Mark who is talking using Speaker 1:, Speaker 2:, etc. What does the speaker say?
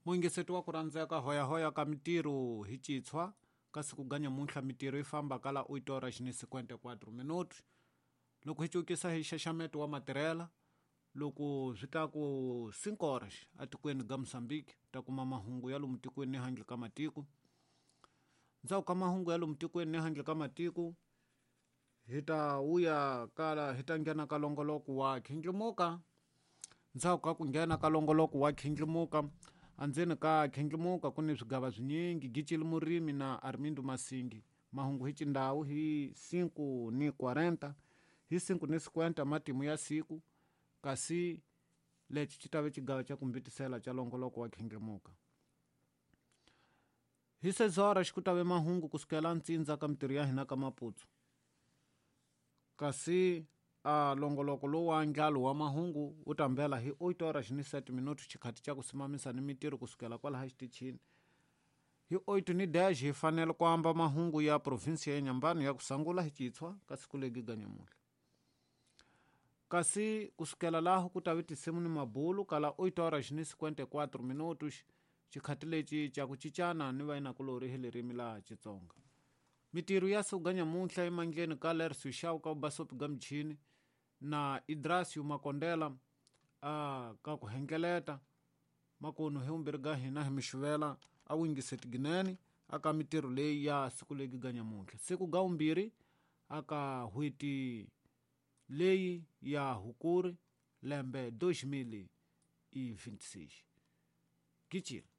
Speaker 1: Muyingiseti wa ku rhandzeka hoyahoya ka mitirho hi citshwa ka siku ga nyamuntlha mitirho yi famba ka la 8 horas ni 54 minutos. Loko hi cukisa hi xaxameto wa matirhela loko swi ta ku 5 horas atikweni ga Mozambique ta kuma mahungu ya lomu tikweni ni handle ka matiko. Ndzhaku ka mahungu ya lomu tikweni ni handle ka matiko hi ta vuya kala hi ta nghena ka longoloko wa khindlimuka ndzhaku ka ku nghena ka longoloko wa khindlimuka andzeni ka khindlimuka ku ni swigava swinyingi gicili murimi na armindo masingi mahungu hi cindhawu hi 5 ni 40 hi 5 ni 50 matimu ya siku kasi lexi xi ta ve xigava xa ku mbitisela xa longoloko wa khindlimuka hi sezora xi ku ta ve mahungu kusukela ntsindza ka mitirho ya hina ka maputsu kasi a longoloko lowu wa ndlalo wa mahungu wu ta mbela hi 8 horas ni 7 minutos xikhati xa ku simamisa ni mitirho kusukela kwalaha xitichini hi 8 ni dash hi fanele ku amba mahungu ya provinsi ya Nyambani ya ku sangula hi citshwa ka siku legi ga nyamuntlha kasi kusukela laho ku ta ve tinsimu ni mabulu kala 8 horas ni 54 minutos xikhati lexi xa ku cincana ni vayinakulorhi hi ririmi la Xitsonga mitirho ya siku ga nyamuntlha emandleni ka Lercio Shaw ka Basopi ga michini na Idrasio Makondela a ka ku hengeleta makunu hi vumbirhi ga hina hi mixivela a wingiseti ginene aka mitirho leyi ya siku legi ga nyamuntlha siku ga vumbirhi aka hweti leyi ya hukuri lembe 2026 gicile.